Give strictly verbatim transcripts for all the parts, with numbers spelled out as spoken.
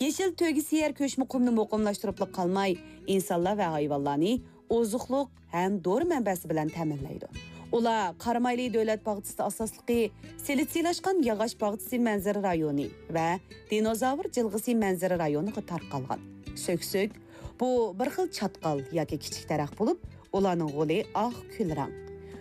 يېشىل تۆگە سېيەر كۆچمە قۇمنى مۇقىملاشتۇرۇپلا قالماي، ئىنسانلار ۋە ھايۋانلارنى ئوزۇقلۇق ھەم دورا مەنبەسى بىلەن تەمىنلەيدۇ. ئۇلار قارامايلى دۆلەت باغچىسىدا ئاساسلىقى سىلىتسىيلاشقان ياغاچ باغچىسى مەنزىرە رايونى ۋە دىنوزاۋر جىلغىسى مەنزىرە رايونىغا تارقالغان. سۆكسۆك، بۇ بىر خىل چاتقال ياكى كىچىك دەرەخ بولۇپ، ئۇلارنىڭ غولى ئاق كۈل رەڭ.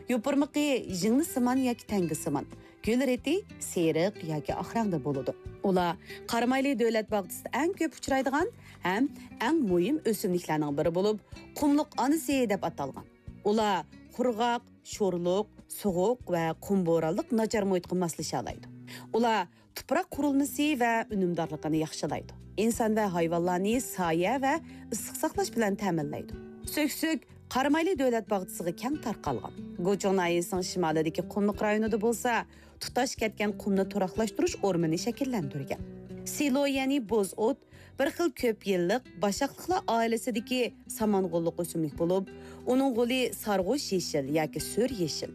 يوپۇرمىقى ژىڭنىسىمان ياكى تەڭگىسىمان، گۈل رېتى سېرىق ياكى ئاق رەڭدە بولىدۇ. ئۇلار قارامايلى دۆلەت باغچىسىدا ئەڭ كۆپ ئۇچرايدىغان ھەم ئەڭ مۇھىم ئۆسۈملۈكلەرنىڭ بىرى بولۇپ، قۇملۇق ئانىسى دەپ ئاتالغان. ئۇلار قۇرغاق، شورلۇق، سوغۇق ۋە قۇم بورانلىق ناچار مۇھىتقا ماسلىشالايدۇ. ئۇلار تۇپراق قۇرۇلمىسى ۋە ئۈنۈمدارلىقىنى ياخشىلايدۇ. ئىنسان ۋە ھايۋانلارنى سايە ۋە ئىسسىق ساقلاش بىلەن تەمىنلەيدۇ. سۆكسۆك قارامايلى دۆلەت باغچىسىغا كەڭ تارقالغان. گۇچۇڭ ناھىيەسىنىڭ شىمالىدىكى قۇملۇق رايونىدا بولسا، تۇتاش كەتكەن قۇمنى تۇراقلاشتۇرۇش ئورمىنى شەكىللەندۈرگەن. سىلو، يەنى بوز ئوت، بىر خىل كۆپ يىللىق باشاقلىقلار ئائىلىسىدىكى سامان غوللۇق ئۆسۈملۈك بولۇپ، ئۇنىڭ غولى سارغۇچ يېشىل ياكى سۈر يېشىل.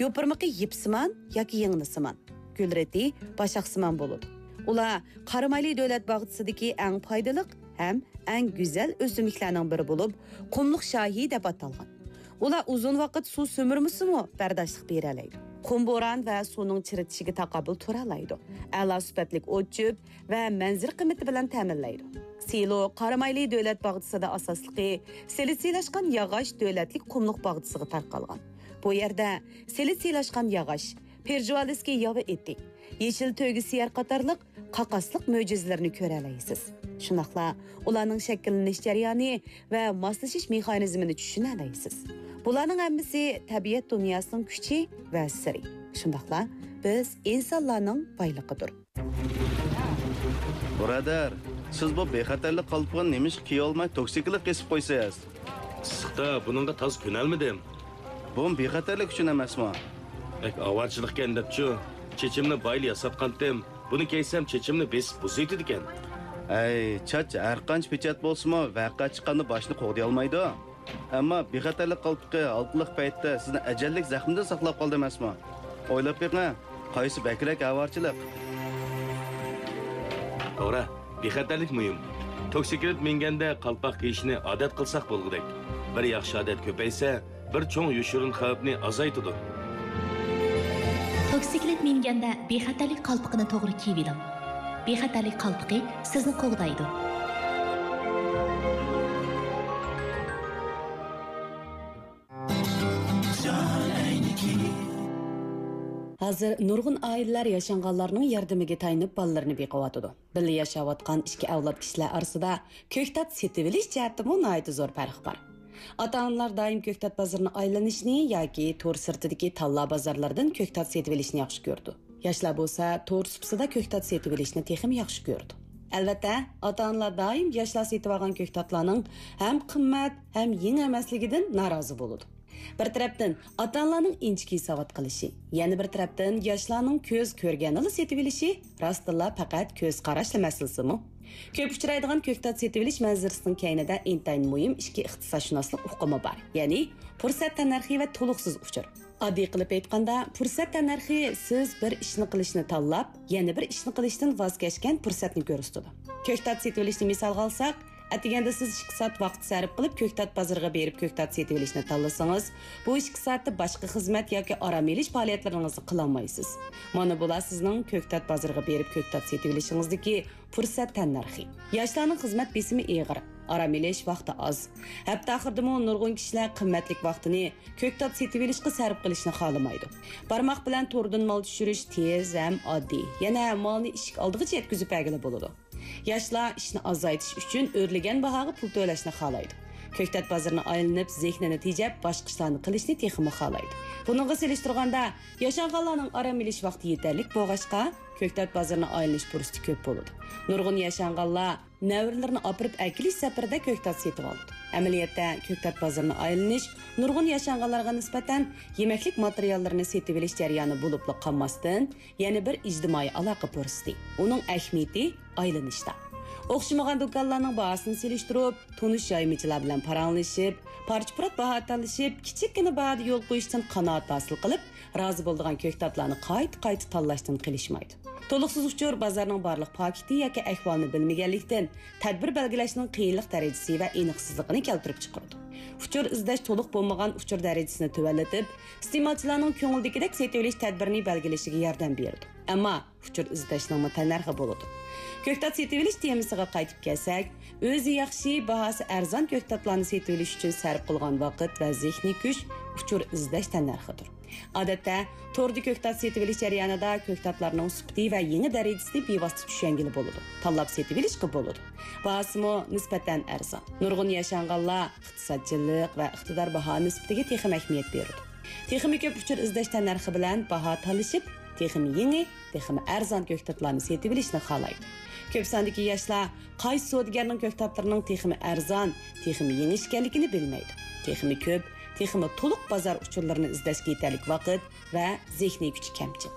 يوپۇرمىقى يىپسىمان ياكى يىڭنىسىمان. گۈل رېتى باشاقسىمان بولىدۇ. ئۇلار قارامايلى دۆلەت باغچىسىدىكى ئەڭ پايدىلىق ھەم ئەڭ گۈزەل ئۆسۈملۈكلەرنىڭ بىرى بولۇپ، قۇملۇق شاھى دەپ ئاتالغان. ئۇلار ئۇزۇن ۋاقىت سۇ سۈمۈرمىسىمۇ بەرداشلىق بېرەلەيدۇ. قۇم بوران ۋە سۇنىڭ چىرىتىشىگە تاقابىل تۇرالايدۇ. ئەلا سۈپەتلىك ئوت-چۆپ ۋە مەنزىرە قىممىتى بىلەن تەمىنلەيدۇ. سىلو قارامايلى دۆلەت باغچىسىدا ئاساسلىقى سىلىتسىيلاشقان ياغاچ دۆلەتلىك قۇملۇق باغچىسىغا تارقالغان. بۇ يەردە سىلىتسىيلاشقان ياغاچ، پېرژۇئالىسكىي ياۋا ئېتى، يېشىل تۆگە سىيەر قاتارلىق قاقاسلىق مۆجىزىلىرىنى كۆرەلەيسىز. شۇنداقلا ئۇلارنىڭ شەكىللىنىش جەريانى ۋە ماسلىشىش مېخانىزمىنى چۈشىنەلەيسىز. بۇلارنىڭ ھەممىسى تەبىئەت دۇنياسىنىڭ كۈچى ۋە سىرى. شۇنداقلا بىز ئىنسانلارنىڭ بايلىقىدۇر. بۇرادەر، سىز بۇ بىخەتەرلىك قالپىقىنى نېمىشقا كىيەلمەي توكسىكلىق كېسىپ قويىسىز؟ ئىسسىقتا بۇنىڭغا تازا كۆنەلمىدىم. بۇمۇ بىخەتەرلىك ئۈچۈن ئەمەسمۇ؟ بەك ئاۋارىچىلىقكەن دەپچۇ. چېچىمنى بايىلا ياساتقانتىم. بۇنى كىيسەم چېچىمنى بېسىپ بۇزۇۋېتىدىكەن. ئەي، چاچ ھەرقانچە پېچەت بولسىمۇ، ۋەقە چىققاندا باشنى قوغدىيالمايدۇ. ئەمما بىخەتەرلىك قالپىقى ھالقىلىق پەيتتە سىزنى ئەجەللىك زەخمىدىن ساقلاپ قالدى ئەمەسمۇ؟ ئويلاپ بېقىڭ، قايسى بەكرەك ئاۋارىچىلىق؟ توغرا، بىخەتەرلىك مۇھىم. توكسىكلىت مىنگەندە قالپاق كىيىشنى ئادەت قىلساق بولغۇدەك. بىر ياخشى ئادەت كۆپەيسە، بىر چوڭ يوشۇرۇن خەۋپنى ئازايتىدۇ. توكسىكلىت مىنگەندە بىخەتەرلىك قالپىقىنى توغرا كىيىۋېلىڭ. بىخەتەرلىك قالپىقى سىزنى قوغدايدۇ. ھازىر نۇرغۇن ئائىلىلەر ياشانغانلارنىڭ ياردىمىگە تايىنىپ بالىلىرىنى بېقىۋاتىدۇ. بىللە ياشاۋاتقان ئىككى ئەۋلاد كىشىلەر ئارىسىدا كۆكتات سېتىۋېلىش جەھەتتىمۇ ناھايىتى زور پەرق بار. ئاتا-ئانىلار دائىم كۆكتات بازىرىنى ئايلىنىشنى ياكى تور سىرتىدىكى تاللا بازارلىرىدىن كۆكتات سېتىۋېلىشنى ياخشى كۆرىدۇ. ياشلار بولسا تور سۇپىسىدا كۆكتات سېتىۋېلىشنى تېخىمۇ ياخشى كۆرىدۇ. ئەلۋەتتە، ئاتا-ئانىلار دائىم ياشلار سېتىۋالغان كۆكتاتلارنىڭ ھەم قىممەت، ھەم يېڭى ئەمەسلىكىدىن نارازى بولىدۇ. بىر تەرەپتىن، ئاتا-ئانىلارنىڭ ئىنچىكە ھېسابات قىلىشى، يەنە بىر تەرەپتىن، ياشلارنىڭ كۆز كۆرگەننىلا سېتىۋېلىشى راستتىنلا پەقەت كۆز قاراشلا مەسىلىسىمۇ؟ كۆپ ئۇچرايدىغان كۆكتات سېتىۋېلىش مەنزىرىسىنىڭ كەينىدە ئىنتايىن مۇھىم ئىككى ئىقتىسادشۇناسلىق ئۇقۇمى بار، يەنى پۇرسەت تەننەرخى ۋە تولۇقسىز ئۇچۇر. ئاددىي قىلىپ ئېيتقاندا، پۇرسەت تەننەرخى سىز بىر ئىشنى قىلىشنى تاللاپ، يەنە بىر ئىشنى قىلىشتىن ۋاز كەچكەن پۇرسەتنى كۆرسىتىدۇ. كۆكتات سېتىۋېلىشنى مىسالغا ئالساق، ئەتىگەندە سىز ئىككى سائەت ۋاقىت سەرپ قىلىپ كۆكتات بازىرىغا بېرىپ كۆكتات سېتىۋېلىشنى تاللىسىڭىز، بۇ ئىككى سائەتتە باشقا خىزمەت ياكى ئارام ئېلىش پائالىيەتلىرىڭىزنى قىلالمايسىز. مانا بۇلار سىزنىڭ كۆكتات بازىرىغا بېرىپ كۆكتات سېتىۋېلىشىڭىزدىكى پۇرسەت تەننەرخى. ياشلارنىڭ خىزمەت بېسىمى ئېغىر، ئارام ئېلىش ۋاقتى ئاز. ھەپتە ئاخىرىدىمۇ نۇرغۇن كىشىلەر قىممەتلىك ۋاقتىنى كۆكتات سېتىۋېلىشقا سەرپ قىلىشنى خالىمايدۇ. بارماق بىلەن توردىن مال چۈشۈرۈش تېز ھەم ئاددىي. يەنە مالنى ئىشىك ئالدىغىچە يەتكۈزۈپ بەرگىلى بولىدۇ. ياشلار ئىشنى ئازايتىش ئۈچۈن ئۆرلىگەن باھاغا پۇل تۆلەشنى خالايدۇ. كۆكتات بازىرىنى ئايلىنىپ، زېھنىنى تېجەپ، باشقا ئىشلارنى قىلىشنى تېخىمۇ خالايدۇ. بۇنىڭغا سېلىشتۇرغاندا، ياشانغانلارنىڭ ئارام ئېلىش ۋاقتى يېتەرلىك بولغاچقا، كۆكتات بازىرىنى ئايلىنىش پۇرسىتى كۆپ بولىدۇ. نۇرغۇن ياشانغانلار نەۋرىلىرىنى ئاپىرىپ ئەكېلىش سەپىرىدە كۆكتات سېتىۋالىدۇ. ئەمەلىيەتتە، كۆكتات بازىرىنى ئايلىنىش نۇرغۇن ياشانغانلارغا نىسبەتەن يېمەكلىك ماتېرىياللىرىنى سېتىۋېلىش جەريانى بولۇپلا قالماستىن، يەنە بىر ئىجتىمائىي ئالاقە پۇرسىتى. ئۇنىڭ ئەھمىيىتى ئايلىنىشتا. ئوخشىمىغان دۇكانلارنىڭ باھاسىنى سېلىشتۇرۇپ، تونۇش يايمىچىلار بىلەن پاراڭلىشىپ، پارچە-پۇرات باھا تالىشىپ، كىچىككىنە باھادا يول قويۇشتىن قانائەت ھاسىل قىلىپ، رازى بولىدىغان كۆكتاتلارنى قايتا-قايتا تاللاشتىن قېلىشمايدۇ. تولۇقسىز ئۇچۇر بازارنىڭ بارلىق پاكىتى ياكى ئەھۋالىنى بىلمىگەنلىكتىن، تەدبىر بەلگىلەشنىڭ قىيىنلىق دەرىجىسى ۋە ئېنىقسىزلىقىنى كەلتۈرۈپ چىقىرىدۇ. ئۇچۇر ئىزدەش تولۇق بولمىغان ئۇچۇر دەرىجىسىنى تۆۋەنلىتىپ، ئىستېمالچىلارنىڭ كۆڭلىدىكىدەك سېتىۋېلىش تەدبىرىنى بەلگىلىشىگە ياردەم بېرىدۇ. ئەمما ئۇچۇر ئىزدەشنىڭمۇ تەننەرخى بولىدۇ. كۆكتات سېتىۋېلىش تېمىسىغا قايتىپ كەلسەك، ئۆزى ياخشى، باھاسى ئەرزان كۆكتاتلارنى سېتىۋېلىش ئۈچۈن سەرپ قىلغان ۋاقىت ۋە زېھنىي كۈچ ئۇچۇر ئىزدەش تەننەرخىدۇر. ئادەتتە، توردا كۆكتات سېتىۋېلىش جەريانىدا كۆكتاتلارنىڭ سۈپىتى ۋە يېڭى دەرىجىسىنى بىۋاسىتە چۈشەنگىلى بولىدۇ، تاللاپ سېتىۋېلىشقا بولىدۇ. باھاسىمۇ نىسبەتەن ئەرزان. نۇرغۇن ياشانغانلار ئىقتىسادچىللىق ۋە ئىقتىدار باھا نىسبىتىگە تېخىمۇ ئەھمىيەت بېرىدۇ. تېخىمۇ كۆپ ئۇچۇر ئىزدەش تەننەرخى بىلەن باھا تالىشىپ، تېخىمۇ يېڭى، تېخىمۇ ئەرزان كۆكتاتلارنى سېتىۋېلىشنى خالايدۇ. كۆپ ساندىكى ياشلار قايسى سودىگەرنىڭ كۆكتاتلىرىنىڭ تېخىمۇ ئەرزان، تېخىمۇ يېڭى ئىكەنلىكىنى بىلمەيدۇ. تېخىمۇ كۆپ، تېخىمۇ تولۇق بازار ئۇچۇرلىرىنى ئىزدەشكە يېتەرلىك ۋاقىت ۋە زېھنىي كۈچى كەمچىل.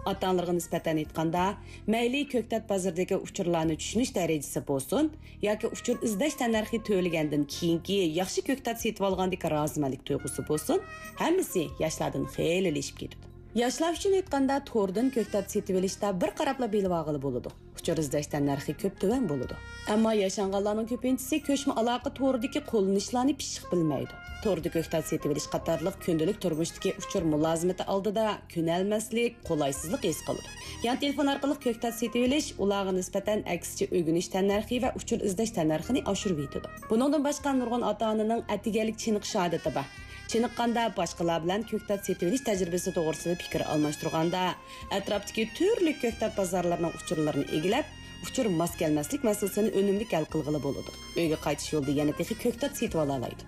ئاتا-ئانىلارغا نىسبەتەن ئېيتقاندا، مەيلى كۆكتات بازىرىدىكى ئۇچۇرلارنى چۈشىنىش دەرىجىسى بولسۇن ياكى ئۇچۇر ئىزدەش تەننەرخى تۆلىگەندىن كېيىنكى ياخشى كۆكتات سېتىۋالغاندىكى رازىمەنلىك تۇيغۇسى بولسۇن، ھەممىسى ياشلاردىن خېلى ئېشىپ كېتىدۇ. ياشلار ئۈچۈن ئېيتقاندا، توردىن كۆكتات سېتىۋېلىشتا بىر قاراپلا بىلىۋالغىلى بولىدۇ. ئۇچۇر ئىزدەش تەننەرخى كۆپ تۆۋەن بولىدۇ. ئەمما ياشانغانلارنىڭ كۆپىنچىسى كۆچمە ئالاقە تورىدىكى قوللىنىشلارنى پىششىق بىلمەيدۇ. توردا كۆكتات سېتىۋېلىش قاتارلىق كۈندىلىك تۇرمۇشتىكى ئۇچۇر مۇلازىمىتى ئالدىدا كۆنەلمەسلىك، قولايسىزلىق ھېس قىلىدۇ. يان تېلېفون ئارقىلىق كۆكتات سېتىۋېلىش ئۇلارغا نىسبەتەن ئەكسىچە ئۆگىنىش تەننەرخى ۋە ئۇچۇر ئىزدەش تەننەرخىنى ئاشۇرۇۋېتىدۇ. بۇنىڭدىن باشقا نۇرغۇن ئاتا-ئانىنىڭ ئەتىگەنلىك چېنىقىش ئادىتى بار. چېنىققاندا باشقىلار بىلەن كۆكتات سېتىۋېلىش تەجرىبىسى توغرىسىدا پىكىر ئالماشتۇرغاندا، ئەتراپتىكى تۈرلۈك كۆكتات بازارلىرىنىڭ ئۇچۇرلىرىنى ئىگىلەپ، ئۇچۇر ماس كەلمەسلىك مەسىلىسىنى ئۈنۈملۈك ھەل قىلغىلى بولىدۇ. ئۆيگە قايتىش يولىدا يەنە تېخى كۆكتات سېتىۋالالايدۇ.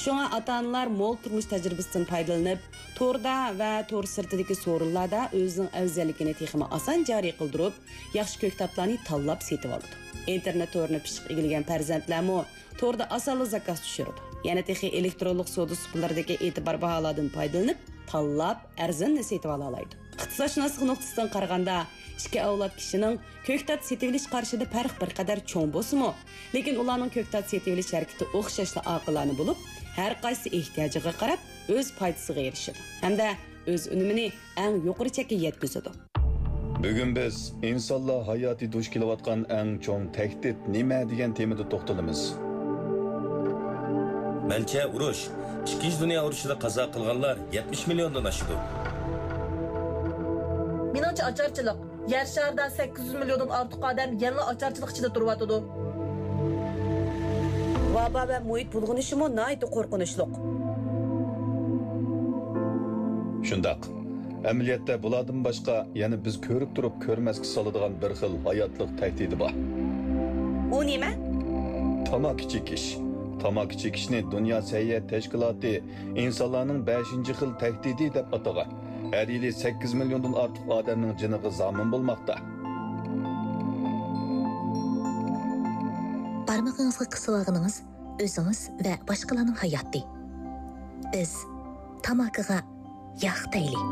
شۇڭا ئاتا-ئانىلار مول تۇرمۇش تەجرىبىسىدىن پايدىلىنىپ، توردا ۋە تور سىرتىدىكى سورۇنلاردا ئۆزىنىڭ ئەۋزەللىكىنى تېخىمۇ ئاسان جارى قىلدۇرۇپ، ياخشى كۆكتاتلارنى تاللاپ سېتىۋالىدۇ. ئىنتېرنېت تورىنى پىششىق ئىگىلىگەن پەرزەنتلەرمۇ توردا ئاسانلا زاكاز چۈشۈرىدۇ. يەنە تېخى ئېلېكترونلۇق سودا سۇپىلىرىدىكى ئېتىبار باھالاردىن پايدىلىنىپ، تاللاپ ئەرزىنىنى سېتىۋالالايدۇ. ئىقتىسادشۇناسلىق نۇقتىسىدىن قارىغاندا، ئىككى ئەۋلاد كىشىنىڭ كۆكتات سېتىۋېلىش قارىشىدا پەرق بىر قەدەر چوڭ بولسىمۇ، لېكىن ئۇلارنىڭ كۆكتات سېتىۋېلىش ھەرىكىتى ئوخشاشلا ئاقىلانە بولۇپ، ھەر قايسى ئېھتىياجىغا قاراپ ئۆز پايدىسىغا ئېرىشىدۇ ھەمدە ئۆز ئۈنۈمىنى ئەڭ يۇقىرى چەككە يەتكۈزىدۇ. بۈگۈن بىز ئىنسانلار ھاياتى دۇچ كېلىۋاتقان ئەڭ چوڭ تەھدىت نېمە دېگەن تېمىدا توختىلىمىز. مەنچە ئۇرۇش، ئىككىنچى دۇنيا ئۇرۇشىدا قازا قىلغانلار يەتمىش مىليوندىن ئاشىدۇ. مېنىڭچە ئاچارچىلىق. يەر شارىدا سەككىز يۈز مىليوندىن ئارتۇق ئادەم يەنىلا ئاچارچىلىق ئىچىدە تۇرۇۋاتىدۇ. ۋابا ۋە مۇھىت بۇلغىنىشىمۇ ناھايىتى قورقۇنچلۇق. شۇنداق. ئەمەلىيەتتە بۇلاردىن باشقا يەنە بىز كۆرۈپ تۇرۇپ كۆرمەسكە سالىدىغان بىر خىل ھاياتلىق تەھدىتى بار. ئۇ نېمە؟ تاماكا چېكىش. تاماكا چېكىشنى دۇنيا سەھىيە تەشكىلاتى ئىنسانلارنىڭ بەشىنچى خىل تەھدىتى دەپ ئاتىغان. ھەر يىلى سەككىز مىليوندىن ئارتۇق ئادەمنىڭ جېنىغا زامىن بولماقتا. بارمىقىڭىزغا قىسىۋالغىنىڭىز ئۆزىڭىز ۋە باشقىلارنىڭ ھاياتى. بىز تاماكىغا ياق دەيلى.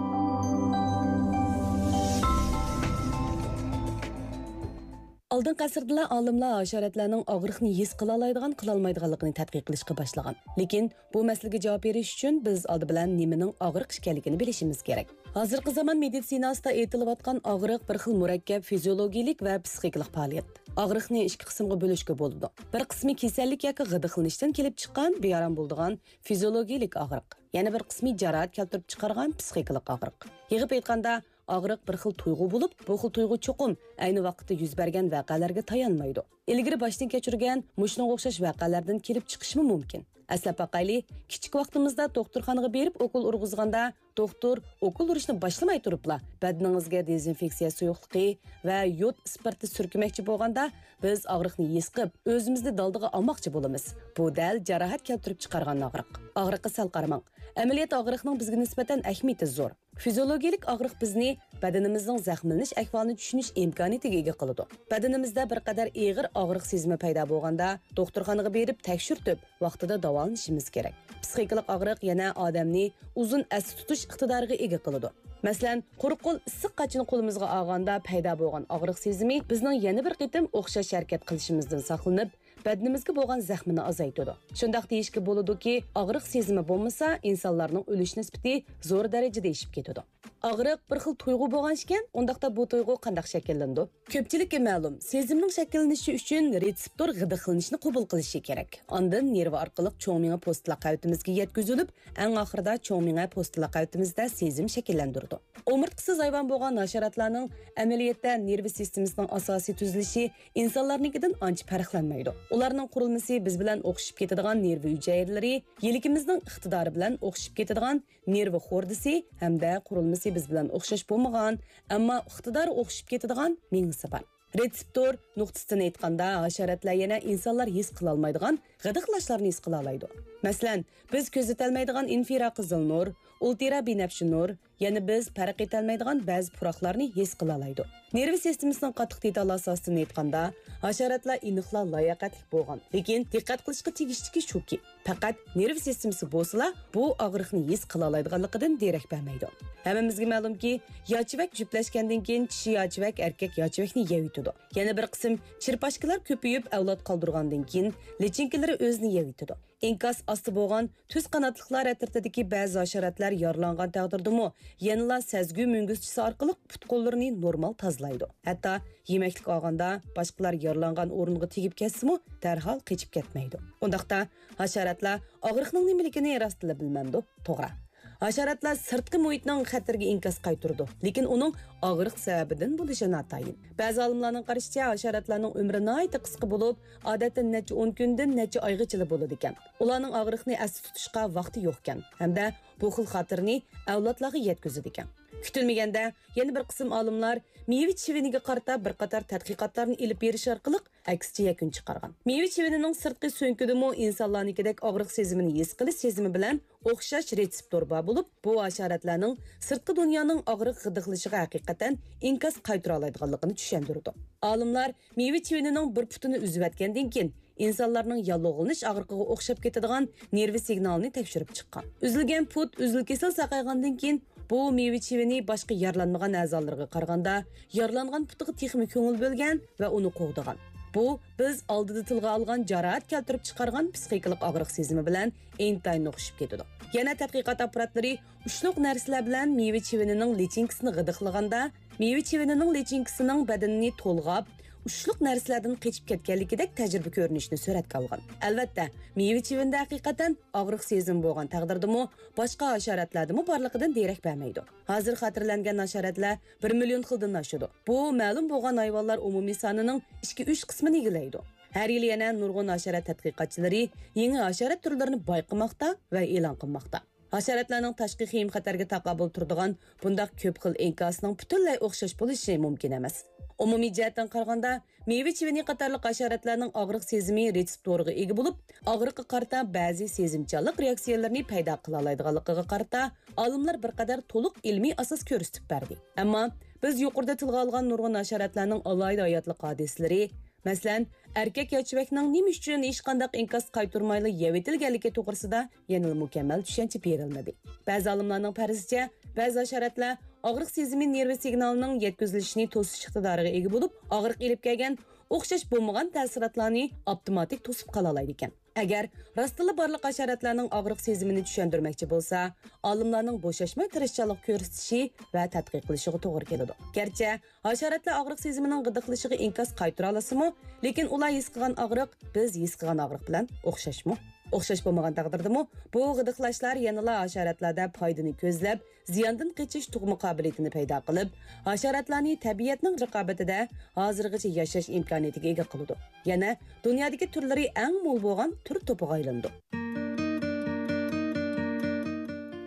ئالدىنقى ئەسىردىلا ئالىملار ھاشاراتلارنىڭ ئاغرىقنى ھېس قىلالايدىغان، قىلالمايدىغانلىقىنى تەتقىق قىلىشقا باشلىغان. لېكىن بۇ مەسىلىگە جاۋاب بېرىش ئۈچۈن بىز ئالدى بىلەن نېمىنىڭ ئاغرىق ئىكەنلىكىنى بىلىشىمىز كېرەك. ھازىرقى زامان مېدىتسىناسىدا ئېيتىلىۋاتقان ئاغرىق بىر خىل مۇرەككەپ فىزىيولوگىيىلىك ۋە پسىخىكىلىق پائالىيەت. ئاغرىقنى ئىككى قىسىمغا بۆلۈشكە بولىدۇ. بىر قىسمى كېسەللىك ياكى غىدىقلىنىشتىن كېلىپ چىققان بىئارام بولىدىغان فىزىيولوگىيىلىك ئاغرىق. يەنە بىر قىسمى جاراھەت كەلتۈرۈپ چىقارغان پسىخىكىلىق ئاغرىق. يىغىپ ئېيتقاندا، ئاغرىق بىر خىل تۇيغۇ بولۇپ، بۇ خىل تۇيغۇ چوقۇم ئەينى ۋاقىتتا يۈز بەرگەن ۋەقەلەرگە تايانمايدۇ. ئىلگىرى باشتىن كەچۈرگەن مۇشۇنىڭغا ئوخشاش ۋەقەلەردىن كېلىپ چىقىشىمۇ مۇمكىن. ئەسلەپ باقايلى، كىچىك ۋاقتىمىزدا دوختۇرخانىغا بېرىپ ئوكۇل ئۇرغۇزغاندا، دوختۇر ئوكۇل ئۇرۇشنى باشلىماي تۇرۇپلا بەدىنىڭىزگە دېزىنفېكسىيە سۇيۇقلۇقى ۋە يود ئىسپىرتى سۈركىمەكچى بولغاندا، بىز ئاغرىقنى ھېس قىلىپ، ئۆزىمىزنى دالدىغا ئالماقچى بولىمىز. بۇ دەل جاراھەت كەلتۈرۈپ چىقارغان ئاغرىق. ئاغرىققا سەل قارىماڭ. ئەمەلىيەتتە ئاغرىقنىڭ بىزگە نىسبەتەن ئەھمىيىتى زور. فىزىيولوگىيەلىك ئاغرىق بىزنى بەدىنىمىزنىڭ زەخىملىنىش ئەھۋالىنى چۈشىنىش ئىمكانىيىتىگە ئىگە قىلىدۇ. بەدىنىمىزدە بىر قەدەر ئېغىر ئاغرىق سېزىمى پەيدا بولغاندا، دوختۇرخانىغا بېرىپ تەكشۈرتۈپ، ۋاقتىدا داۋالىنىشىمىز كېرەك. پسىخىكىلىق ئاغرىق يەنە ئادەمنى ئۇزۇن ئەستە تۇتۇش ئىقتىدارىغا ئىگە قىلىدۇ. مەسىلەن، قۇرۇق قول ئىسسىق قاچىنى قولىمىزغا ئالغاندا پەيدا بولغان ئاغرىق سېزىمى بىزنىڭ يەنە بىر قېتىم ئوخشاش ھەرىكەت قىلىشىمىزدىن ساقلىنىپ، بەدىنىمىزگە بولغان زەخمىنى ئازايتىدۇ. شۇنداق دېيىشكە بولىدۇكى، ئاغرىق سېزىمى بولمىسا، ئىنسانلارنىڭ ئۆلۈش نىسبىتى زور دەرىجىدە ئېشىپ كېتىدۇ. ئاغرىق بىر خىل تۇيغۇ بولغان ئىكەن، ئۇنداقتا بۇ تۇيغۇ قانداق شەكىللىنىدۇ؟ كۆپچىلىككە مەلۇم، سېزىمنىڭ شەكىللىنىشى ئۈچۈن رېتسېپتور غىدىقلىنىشنى قوبۇل قىلىشى كېرەك. ئاندىن نېرۋا ئارقىلىق چوڭ مېڭە پوستىلاق قەۋىتىمىزگە يەتكۈزۈلۈپ، ئەڭ ئاخىرىدا چوڭ مېڭە پوستىلاق قەۋىتىمىزدە سېزىم شەكىللەندۈرىدۇ. ئومۇرتقىسىز ھايۋان بولغان ھاشاراتلارنىڭ ئەمەلىيەتتە نېرۋا سىستېمىسىنىڭ ئاساسىي تۈزۈلۈشى ئىنسانلارنىڭكىدىن ئانچە پەرقلەنمەيدۇ. ئۇلارنىڭ قۇرۇلمىسى بىز بىلەن ئوخشىشىپ كېتىدىغان نېرۋا ھۈجەيرىلىرى، يىلىكىمىزنىڭ ئىقتىدارى بىلەن ئوخشىشىپ كېتىدىغان نېرۋا خوردىسى ھەمدە قۇرۇلمىسى بىز بىلەن ئوخشاش بولمىغان، ئەمما ئىقتىدارى ئوخشىشىپ كېتىدىغان مېڭىسى بار. رېتسېپتور نۇقتىسىدىن ئېيتقاندا، ھاشاراتلار يەنە ئىنسانلار ھېس قىلالمايدىغان غىدىقلاشلارنى ھېس قىلالايدۇ. مەسىلەن، بىز كۆزىتەلمەيدىغان ئىنفراقىزىل نۇر، ئۇلترا بىنەپشە نۇر، يەنە بىز پەرق ئېتەلمەيدىغان بەزى پۇراقلارنى ھېس قىلالايدۇ. نېرۋا سىستېمىسىنىڭ قاتتىق دېتالى ئاساسىدىن ئېيتقاندا، ھاشاراتلار ئېنىقلا لاياقەتلىك بولغان، لېكىن دىققەت قىلىشقا تېگىشلىكى شۇكى، پەقەت نېرۋا سىستېمىسى بولسىلا، بۇ ئاغرىقنى ھېس قىلالايدىغانلىقىدىن دېرەك بەرمەيدۇ. ھەممىمىزگە مەلۇمكى، ياچىۋەك جۈپلەشكەندىن كېيىن چىشى ياچىۋەك ئەركەك ياچىۋەكنى يەۋېتىدۇ. يەنە بىر قىسىم چېرپاشكىلار كۆپىيىپ، ئەۋلاد قالدۇرغاندىن كېيىن، لىچىنكىلىرى ئۆزىنى يەۋېتىدۇ. ئىنكاس ئاستا بولغان تۈز قاناتلىقلار ئەترىتىدىكى بەزى ھاشاراتلار يارىلانغان تەقدىردىمۇ، يەنىلا سەزگۈ مۈڭگۈزچىسى ئارقىلىق پۇت-قوللىرىنى نورمال تازىلايدۇ. ھەتتا يېمەكلىك ئالغاندا، باشقىلار يارىلانغان ئورۇنغا تېگىپ كەتسىمۇ، دەرھال قېچىپ كەتمەيدۇ. ئۇنداقتا، ھاشاراتلار ئاغرىقنىڭ نېمىلىكىنى راستلا بىلمەمدۇ؟ توغرا. ھاشاراتلار سىرتقى مۇھىتنىڭ خەتىرىگە ئىنكاس قايتۇرىدۇ، لېكىن ئۇنىڭ ئاغرىق سەۋەبىدىن بولۇشى ناتايىن. بەزى ئالىملارنىڭ قارىشىچە، ھاشاراتلارنىڭ ئۆمرى ناھايىتى قىسقا بولۇپ، ئادەتتە نەچچە ئون كۈندىن نەچچە ئايغىچىلا بولىدىكەن. ئۇلارنىڭ ئاغرىقنى ئەستە تۇتۇشقا ۋاقتى يوقكەن ھەمدە بۇ خىل خاتىرىنى ئەۋلادلارغا يەتكۈزىدىكەن. كۈتۈلمىگەندە، يەنە بىر قىسىم ئالىملار مېۋە چىۋىنىگە قارىتا بىر قاتار تەتقىقاتلارنى ئېلىپ بېرىش ئارقىلىق ئەكسىچە يەكۈن چىقارغان. مېۋە چىۋىنىنىڭ سىرتقى سۆڭىكىدىمۇ ئىنسانلارنىڭكىدەك ئاغرىق سېزىمىنى ھېس قىلىش سېزىمى بىلەن ئوخشاش رېتسېپتور بار بولۇپ، بۇ ھاشاراتلارنىڭ سىرتقى دۇنيانىڭ ئاغرىق غىدىقلىشىغا ھەقىقەتەن ئىنكاس قايتۇرالايدىغانلىقىنى چۈشەندۈرىدۇ. ئالىملار مېۋە چىۋىنىنىڭ بىر پۇتىنى ئۈزۈۋەتكەندىن كېيىن، ئىنسانلارنىڭ ياللۇغلىنىش ئاغرىقىغا ئوخشاپ كېتىدىغان نېرۋا سىگنالىنى تەكشۈرۈپ چىققان. ئۈزۈلگەن پۇت ئۈزۈل-كېسىل ساقايغاندىن كېيىن، بۇ مېۋە چىۋىنى باشقا يارىلانمىغان ئەزالىرىغا قارىغاندا، يارىلانغان پۇتىغا تېخىمۇ كۆڭۈل بۆلگەن ۋە ئۇنى قوغدىغان. بۇ بىز ئالدىدا تىلغا ئالغان جاراھەت كەلتۈرۈپ چىقارغان پسىخىكىلىق ئاغرىق سېزىمى بىلەن ئىنتايىن ئوخشىشىپ كېتىدۇ. يەنە تەتقىقات ئاپپاراتلىرى ئۇچلۇق نەرسىلەر بىلەن مېۋە چىۋىنىنىڭ لىچىنكىسىنى غىدىقلىغاندا، مېۋە چىۋىنىنىڭ لىچىنكىسىنىڭ بەدىنىنى تولغاپ، ئۇچلۇق نەرسىلەردىن قېچىپ كەتكەنلىكىدەك تەجرىبە كۆرۈنۈشىنى سۈرەتكە ئالغان. ئەلۋەتتە، مېۋە چىۋىنىدە ھەقىقەتەن ئاغرىق سېزىمى بولغان تەقدىردىمۇ، باشقا ھاشاراتلاردىمۇ بارلىقىدىن دېرەك بەرمەيدۇ. ھازىر خاتىرىلەنگەن ھاشاراتلار بىر مىليون خىلدىن ئاشىدۇ. بۇ مەلۇم بولغان ھايۋانلار ئومۇمىي سانىنىڭ ئىككى ئۈچ قىسمىنى ئىگىلەيدۇ. ھەر يىلى يەنە نۇرغۇن ھاشارات تەتقىقاتچىلىرى يېڭى ھاشارات تۈرلىرىنى بايقىماقتا ۋە ئېلان قىلماقتا. ھاشاراتلارنىڭ تاشقى خىم خەتەرگە تاقابىل تۇرىدىغان بۇنداق كۆپ خىل ئىنكاسىنىڭ پۈتۈنلەي ئوخشاش بولۇشى مۇمكىن ئەمەس. ئومۇمىي جەھەتتىن قارىغاندا، مېۋە چىۋىنى قاتارلىق ھاشاراتلارنىڭ ئاغرىق سېزىمى رېتسېپتورىغا ئىگە بولۇپ، ئاغرىققا قارىتا بەزى سېزىمچانلىق رېئاكسىيەلىرىنى پەيدا قىلالايدىغانلىقىغا قارىتا، ئالىملار بىر قەدەر تولۇق ئىلمىي ئاساس كۆرسىتىپ بەردى. ئەمما بىز يۇقىرىدا تىلغا ئالغان نۇرغۇن ھاشاراتلارنىڭ ئالاھىدە ھاياتلىق ھادىسىلىرى، مەسىلەن، ئەركەك ياچىۋەكنىڭ نېمە ئۈچۈن ھېچقانداق ئىنكاس قايتۇرمايلا يەۋېتىلگەنلىكى توغرىسىدا يەنىلا مۇكەممەل چۈشەنچە بېرىلمىدى. بەزى ئالىملارنىڭ پەرىزىچە، بەزى ھاشاراتلار ئاغرىق سېزىمى نېرۋا سىگنالىنىڭ يەتكۈزۈلۈشىنى توسۇش ئىقتىدارىغا ئىگە بولۇپ، ئاغرىق ئېلىپ كەلگەن ئوخشاش بولمىغان تەسىراتلارنى ئاپتوماتىك توسۇپ قالالايدىكەن. ئەگەر راستتىنلا بارلىق ھاشاراتلارنىڭ ئاغرىق سېزىمىنى چۈشەندۈرمەكچى بولسا، ئالىملارنىڭ بوشاشماي تىرىشچانلىق كۆرسىتىشى ۋە تەتقىق قىلىشىغا توغرا كېلىدۇ. گەرچە ھاشاراتلار ئاغرىق سېزىمىنىڭ غىدىقلىشىغا ئىنكاس قايتۇرالىسىمۇ، لېكىن ئۇلار ھېس قىلغان ئاغرىق بىز ھېس قىلغان ئاغرىق بىلەن ئوخشاشمۇ؟ ئوخشاش بولمىغان تەقدىردىمۇ، بۇ غىدىقلاشلار يەنىلا ھاشاراتلاردا پايدىنى كۆزلەپ، زىياندىن قېچىش تۇغما قابىلىيىتىنى پەيدا قىلىپ، ھاشاراتلارنى تەبىئەتنىڭ رىقابىتىدە ھازىرغىچە ياشاش ئىمكانىيىتىگە ئىگە قىلىدۇ. يەنە دۇنيادىكى تۈرلىرى ئەڭ مول بولغان تۈر توپىغا ئايلىنىدۇ.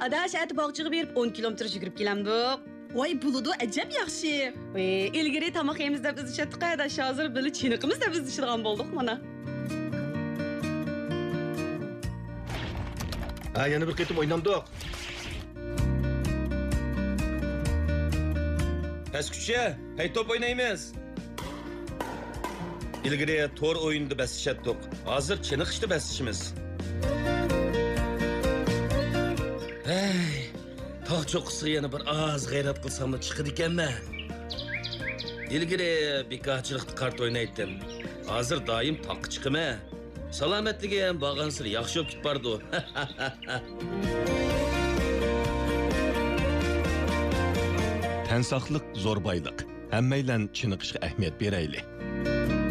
ئاداش، ئەتە باغچىغا بېرىپ ئون كىلومېتىر يۈگۈرۈپ كېلەمدۇق؟ ۋاي، بولىدۇ، ئەجەب ياخشى. ۋەي، ئىلگىرى تاماق يەيمىز دەپ ئىزدىشەتتۇق ئاداش، ھازىر بىللە چېنىقىمىز دەپ ئىزدىشىدىغان بولدۇق مانا. ھە، يەنە بىر قېتىم ئوينامدۇق؟ پەسكۈچە، ھەي، توپ ئوينايمىز. ئىلگىرى تور ئويۇنىدا بەسلىشەتتۇق، ھازىر چېنىقىشتا بەسلىشىمىز. ھەي، تاغ چوققىسىغا يەنە بىر ئاز غەيرەت قىلساملا چىقىدىكەنمەن. ئىلگىرى بىكارچىلىقتا قارتا ئوينايتتىم، ھازىر دائىم تاغقا چىقىمەن. سالامەتلىكىم بارغانسېرى ياخشى بولۇپ كېتىپ بارىدۇ. تەن ساقلىق زور بايلىق. ھەممەيلەن چېنىقىشقا ئەھمىيەت بېرەيلى.